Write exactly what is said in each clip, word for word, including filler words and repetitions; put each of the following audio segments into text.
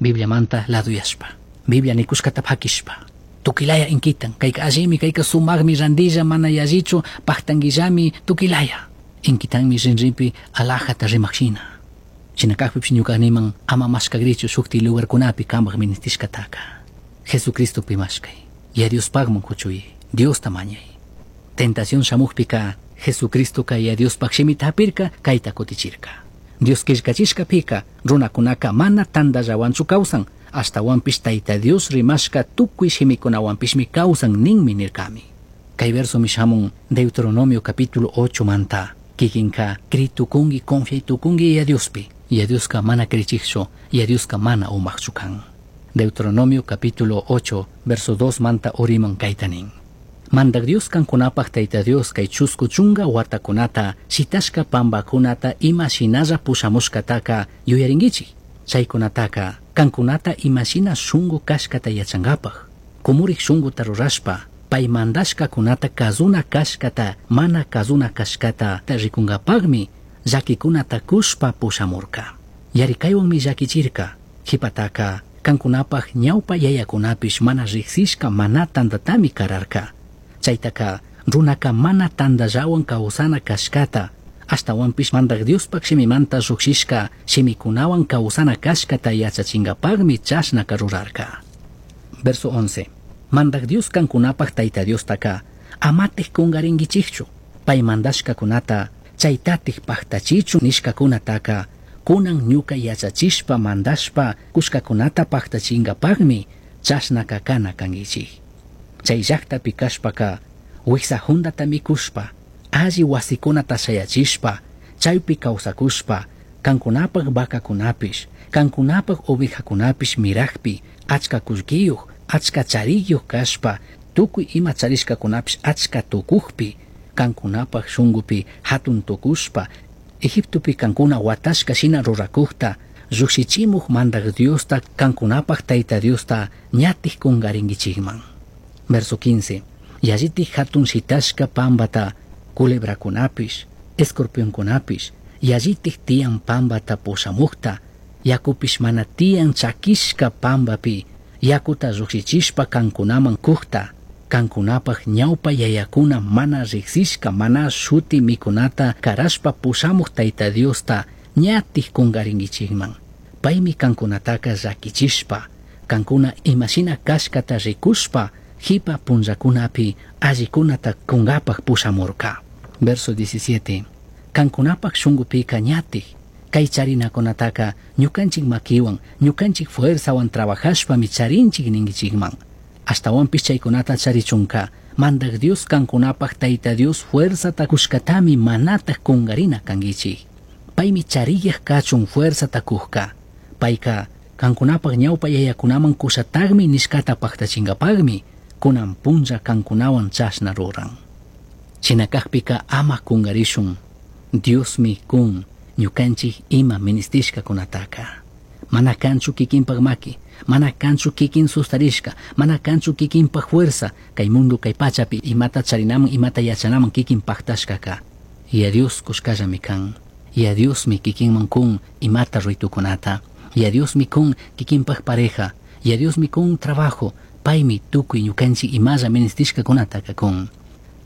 Bibliamanta laduyashpa, Biblia nikushkata pakishpa. Tukilaya inkitan, kayka allimi, kayka sumaqmi randilla mana yallichu, paktanguillami tukilaya. Inkitanmi rinrinpi alajata rimaqshina. Shina kaqpipish ñuka niman ama mashkagrichu shukti lugarkunapi kamaq ministishkataka. Jesucristopi mashkay. Ya Diospaqman kuchuy, Diosta mañay. Tentación shamukpika Jesucristoka ya Diospaq shimita hapirka kayta kutichirka. Dios qillqachishkapika runakunaka mana tantallawanchu kawsan, ashtawanpish Tayta Dios rimashka tukuy shimikunawanpishmi kawsan ninmi nirkami. Kay versomi shamun Deuteronomio capítulo ocho manta. Kikinka kritukunki confiaytukunki ya Diospi. Ya Dioska mana krichikchu, ya Dioska mana umaqchu kan. Deuteronomio capítulo ocho, verso dos manta uriman kayta nin. Mandak Dios kankunapaq Tayta Dios kay chusku chunka watakunata shitashka pambakunata ima shinalla pushamushkataka yuyarinkichik. Chaykunataka kankunata ima shina shunku kashkata yachankapaq. Kumurik shunkuta rurashpa pay mandashkakunata kazuna kashkata mana kazuna kashkata rikunkapaqmi llakikunata kushpa pushamurka. Yarikaywanmi llakichirka. Qhipataka kankunapaq ñawpa yayakunapish mana riqsishka mana tantatami kararka. Chaytaka runaka mana tantallawan kawsana kashkata, ashtawanpish mandak Diospaq shimimanta lluqshishka shimikunawan kawsana kashkata yachachinkapaqmi chashnaka rurarka. Verso once. Mandak Dios kankunapaq Tayta Diostaka amatik kungarinkichikchu, pay mandashkakunata chaytatik paktachichu nishkakunataka kunan ñuka yachachishpa mandashpa kushkakunata paktachinkapaqmi chashnaka kana kankichik. Chay llaqtapi kashpaka wiksa hundata mikushpa, alli wasikunata shayachishpa, chaypi kawsakushpa, kankunapaq vacakunapish, kankunapaq ovejakunapish miraqpi, achka kullkiyuq, achka chariyuq kashpa, tukuy ima charishkakunapish achka tukuqpi, kankunapaq shunkupi hatun tukushpa, Egiptopi kankuna watashka shina rurakuqta, lluqshichimuq mandak Diosta, kankunapaq Tayta Diosta ñatik kungarinkichikman. Verso quince. Yallitik hatun shitashka pambata, culebrakunapish, escorpionkunapish, yallitik tiyan pambata pushamuqta, yakupish mana tiyan chakishka pambapi, yakuta lluqshichishpa kankunaman kuqta, kankunapaq ñawpa yayakuna mana riqsishka mana shuti mikunata karashpa pushamuq Tayta Diosta ñatik kungarinkichikman. Paymi kankunataka llakichishpa, kankuna imashina kashkata rikushpa, hipa punllakunapi allikunata kunkapaq pushamurka. Verso diecisiete. Kankunapaq shunkupika ñatik, kay charinakunataka ñukanchik makiwan, ñukanchik fuerzawan trabajashpami charinchik ninkichikman. Ashtawanpish chaykunata charichunka, mandak Dios kankunapaq Tayta Dios fuerzata kushkatami manataq kungarina kankichik. Paymi chariyaq kachun fuerzata kuqka. Payka kankunapaq ñawpa yayakunaman kushataqmi nishkata paqtachinkapaqmi, kunan punlla kankunawan chashna ruran. Shina kaqpika ama kungarishun, Diosmi kun ñukanchik ima ministishkakunataka. Mana kanchu kikinpaq maki, mana kanchu kikin sustarishka, mana kanchu kikinpaq fuerza, kay mundo kay pachapi imata charinaman imata yachanaman kikin paqtashkaka. Ya Dios kushkallami kan. Ya Diosmi kikinman kun imata ruitukunata. Ya Diosmi kun kikinpaq pareja. Ya Diosmi kun trabajo. Paymi tukuy ñukanchik imalla ministishkakunataka kun.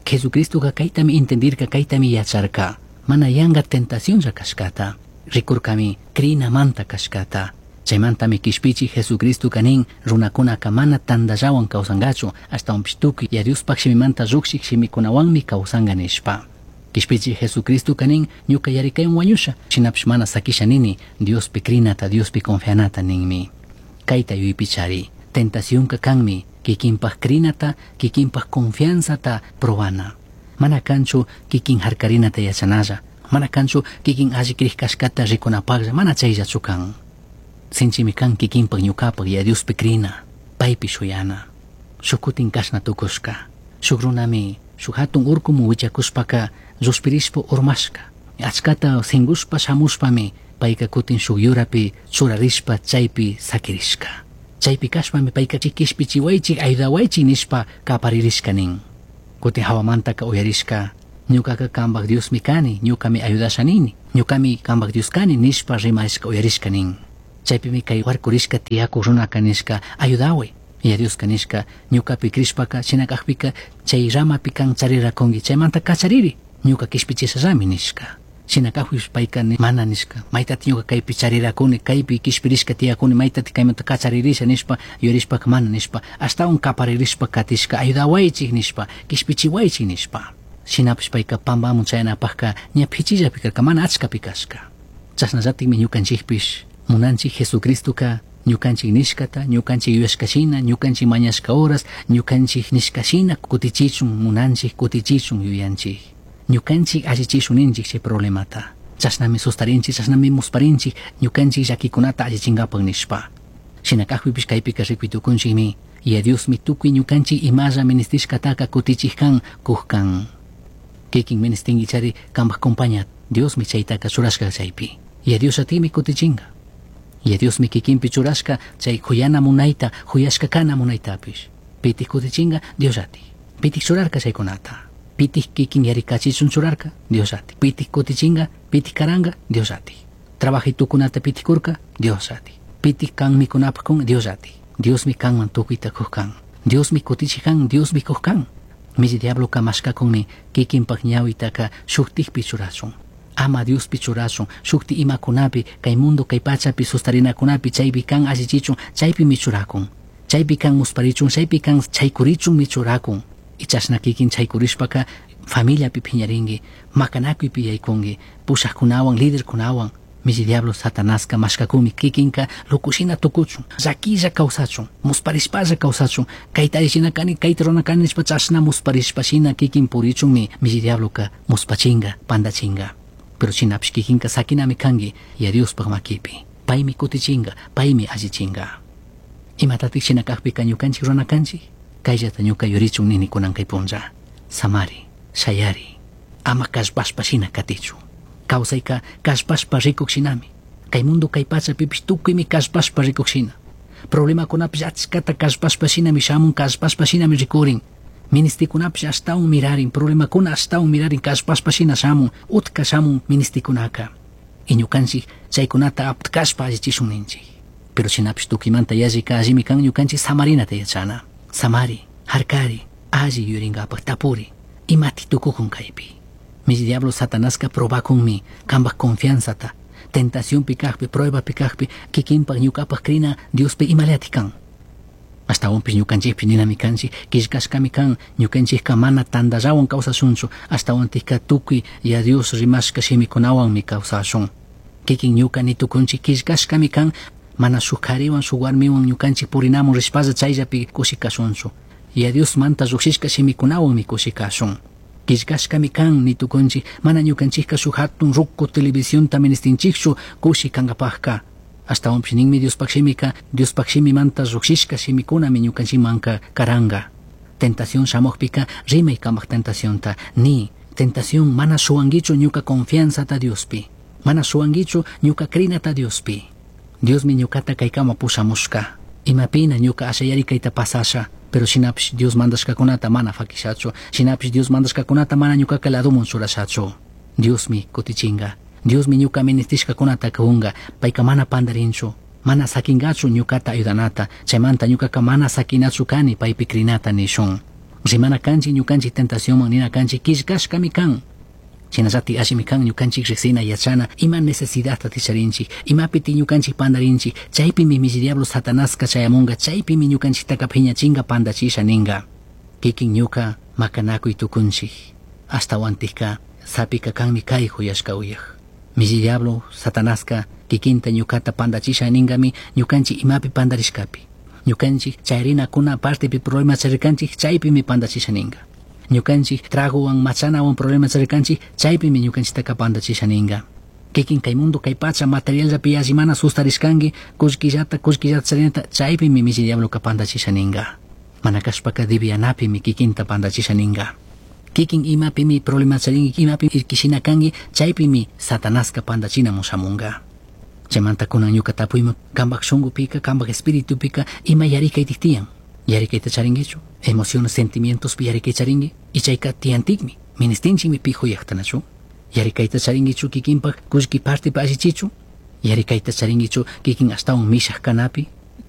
Jesucristoka kaytami entendirka, kaytami yacharka. Mana yanka tentacionlla kashkata. Rikurkami krinamanta kashkata. Chaymantami kishpichi Jesucristo nin runakunaka mana tantallawan kawsankachu, ashtawanpish tukuy ya Diospaq shimimanta lluqshik shimikunawanmi kawsanka nishpa. Kishpichi Jesucristo nin ñuka yarikaywan wañusha, shinapish mana sakisha nini Diospi krinata, Diospi confianata ninmi. Kayta yuypichari, tentacionka kanmi kikinpaq krinata, kikinpaq confianzata probana. Mana kanchu kikin harkarinata yachanalla, mana kanchu kikin alli kriq kashkata rikunapaqlla, mana chayllachu kan. Sinchimi kan kikinpaq ñukapak ya Diospi krina, paypi shuyana. Shuk kutin kashna tukushka, shuk runami shuk hatun urkuman wichakushpaka llushpirishpa urmashka. Achkata singushpa shamushpami payka kutin shuk yurapi churarishpa chaypi sakirishka. Chaypi kashpami payka kishpichiwaychik ayudawaychik nishpa kaparirishka nin. Kutin hawamantaka uyarishka, ñukaka kanpak Diosmi kani, ñukami ayudasha nini, ñukami kanpak Dios kani nishpa rimarishka uyarishka nin. Chaypimi kay warkurishka tiyakuq runaka nishka ayudaway. Yaya Dioska nishka ñukapi crishpaka shina kakpika chay ramapi kan charirakunki chaymanta kachariri ñuka kishpichishallami nishka. Shina kakpish payka mana nishka maytati ñuka kaypi charirakuni kaypi kishpirishka tiyakuni maytati kaymanta kacharirisha nishpa yuyarishpaka mana nishpa ashtawan kaparirishpa katishka ayudawaychik nishpa kishpichiwaychik nishpa. Shinapish payka pampamun chayanapakka ña phichillapi karka mana achkapi kashka. Chashnallatikmi ñukanchikpish munanchik Jesucristoka ñukanchik nishkata ñukanchik yuyashkashina ñukanchik mañashka horas ñukanchik nishkashina kutichichun munanchik kutichichun yuyanchik. Ñukanchik allichishun ninchik chay problemata. Chashnami sustarinchik, chashnami musparinchik ñukanchik llakikunata allichinkapak nishpa. Shina kakpipish kaypika rikuy Yaya Diosmi tukuy ñukanchik imalla ministishkataka kutichik kan kuq kan. Kikin ministinki chari kanpak compaña Diosmi chaytaka churashka chaypi. Yaya Dios atimi kutichinka. Yaya Diosmi kikinpi churashka chay huyana munayta, huyashka kana munaytapish. Pitik kutichinka Dios ati. Pitik churarka chaykunata. Pitik kikin yarikachichun churarka Dios ati. Pitik kutichinka, pitik karanga Dios ati. Trabajitukunata pitikurka Dios ati. Pitik kan mikunapaq kun Dios ati. Diosmi kanman tukuyta kuq kan. Diosmi kutichik kan, Diosmi kuq kan. Milli diabloka mashkakunmi kikinpak ñawitaka shuktikpi churachun. Ama Diospi churachun, shukti imakunapi, kay mundo kay pachapi sustarinakunapi chaypi kan allichichun, chaypimi churakun. Chaypi kan musparichun, chaypi kan chaykurichunmi churakun. Y chashna kikin chaykurishpaka familiapi phiñarinki, makanakuypi yaykunki, pushaqkunawan, liderkunawan. Milli diablo Satanaska mashkakumi kikinka lukushina tukuchun, llakilla kawsachun, musparishpalla kawsachun, kayta allichina kani, kayta rurana kani nishpa chashna musparishpashina kikin purichunmi milli diabloka muspachinka, pandachinka. Pero shinapish kikinka sakinami kanki Yaya Diospaj makipi. Paymi kutichinka, paymi allichinka. Imatatik shina kakpika ñukanchik rurana kanchik? Kayllata ñuka yurichun nini kunan kay punlla. Samari, shayari, ama kallpashpa shina katichu. Kawsayka kallpashpa rikuk shinami. Kay mundo kay pachapipish tukuymi kallpashpa rikuk shina. Problemakunapish achkata kallpashpa shinami shamun, kallpashpa shinami rikurin. Ministikunapish ashtawan mirarin, problemakuna ashtawan mirarin, kallpashpa shina shamun, utka shamun ministikunaka. Y ñukanchik chaykunata aptkashpa allichishun ninchik. Pero shinapish tukuymanta yallika allimi kan ñukanchik samarinata yachana. Samari, harkari, alli yuyarinkapaq tapuri, imati tukukun kaypi. Milli diablo Satanaska probakunmi kanpak confianzata, tentacionpi kakpi, pruebapi kakpi, kikinpak ñukapak krina Diospi imallati kan. Ashtawanpish ñukanchikpi ninami kanchik, killkashkami kan, ñukanchikka mana tantallawan kawsashunchu, ashtawantikka tukuy Yaya Dios rimashka shimikunawanmi kawsashun. Kikin ñuka nitukunchik killkashkami kan, mana shuk kariwan shuk warmiwan ñukanchik purinamun rishpalla chayllapi kushikashunchu. Yaya Diosmanta lluqshishka shimikunawanmi kushikashun. Killkashkami kan nitukunchik, mana ñukanchikka shuk hatun ruku televisionta ministinchikchu kushi kankapakka. Ashtawanpish ninmi Diospaq shimika, Diospaq shimimanta lluqshishka shimikunami ñukanchikmanka karanka. Tentación shamuqpika rimay kanpak tentacionta, ni tentación mana shuwankichu ñuka confianzata Diospi, mana shuwankichu ñuka krinata Diospi. Diosmi ñukata kaykama pushamushka. Imapina ñuka ashayari kayta pasasha, pero shinapish Dios mandashkakunata mana fakishachu, shinapish Dios mandashkakunata mana ñukaka ladumun churashachu. Diosmi kutichinka, Diosmi ñuka ministishkakunata kunga, payka mana pandarinchu, mana sakingachu ñukata ayudanata, chaymanta ñukaka mana sakinachu kani paypi krinata nishun. Rimana kanchik ñukanchik tentacionman nina kanchik killkashkami kan. Shinallati allimi kan ñukanchik riqsina yachana ima necesidadta ticharinchik, imapiti ñukanchik pandarinchik, chaypimi milli diablo Satanaska chayamunga, chaypimi ñukanchiktaka phiñachinka pandachisha ninga. Kikin ñuka makanakuy tukunchik, ashtawantikka sapika kanmi kay huyashka uyaj. Milli diablo Satanaska kikinta ñukata pandachisha ningami ñukanchik imapi pandarishkapi. Ñukanchik chayrinakuna partepi problema charirkanchik chaypimi pandachisha ninga. Ñukanchik tragowan machanawan problema charirkanchik chaypimi ñukanchiktaka pandachisha ninga. Kikin kay mundo kay pacha materialllapi yalli mana sustarishkanki kullkillata kullkillata charinata chaypimi milli diabloka pandachisha ninga. Mana kashpaka divianapimi kikinta pandachisha ninga. Kikin imapimi problema charinki, imapi irkishina kanki, chaypimi Satanaska pandachinamun shamunga. Chaymanta kunan ñuka tapuyman kanpak shunqupika, kanpak espiritupika ima yarikaytik tiyan. Yarikayta charinkichu? Emociones, sentimientospi yarikay charinki? Y chayka tiyantikmi, ministinchikmi pi huyaqtanachu? Yarikayta charinkichu kikinpak kullki partipi allichichu? Yarikayta charinkichu kikin ashtawan mishak kanapi?